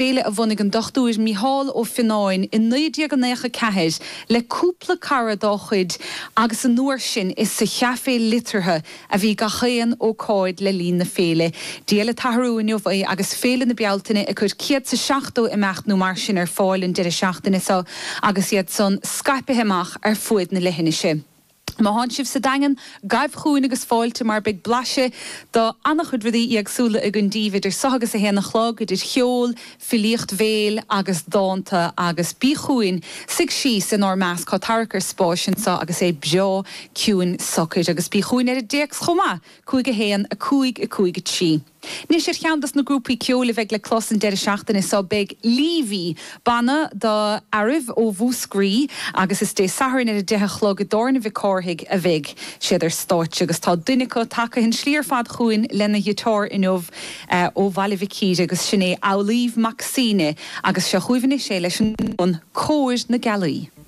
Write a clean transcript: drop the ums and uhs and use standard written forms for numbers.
Féile a bhunaigh an Dr Mícheál Ó Fionnáin i 1994 le cúpla cara dá chuid agus an uair sin is sa Chaifé Liteartha a bhí gach aon ócáid le linn na féile. Dia le t-athrú inniu é agus Féile na Bealtaine ag cur 170 imeacht nó mar sin ar fáil an deireadh seachtaine seo agus iad san scaipithe amach ar fuaid na leithinise. Má thánn sibh sa Daingean, gabh chugainn agus fáilte mar beidh blaiseadh do an-chuid rudaí éagsúla againn daoibh idir seo agus a haon a chlog, idir cheol, filíocht bhéil agus dánta agus bí chugainn, suigh síos inár measc, tá tarrac ar spáis anseo agus é breá ciúin socair agus bí chugainn ar an dtéacs chomh maith, 5 1 5 5 3. Anois ar cheann dos na grúpaí ceoil a bheidh le clos an deireadh seachtaine seo beidh Leavy, banna do fhearaibh ó Mhúscraí agus is Dé Sathairn ar a 10 a chlog i dTábhairne Mhic Cárthaigh a bheidh siad ar stáitse agus tá duine acu tagtha an slí ar fad chugainn lena ghiotár inniu ó Bhaile Mhic Íre agus sin é Amhlaoibh Mac Suibhne agus seo chugaibh anois é leis an Cóir na Gealaí.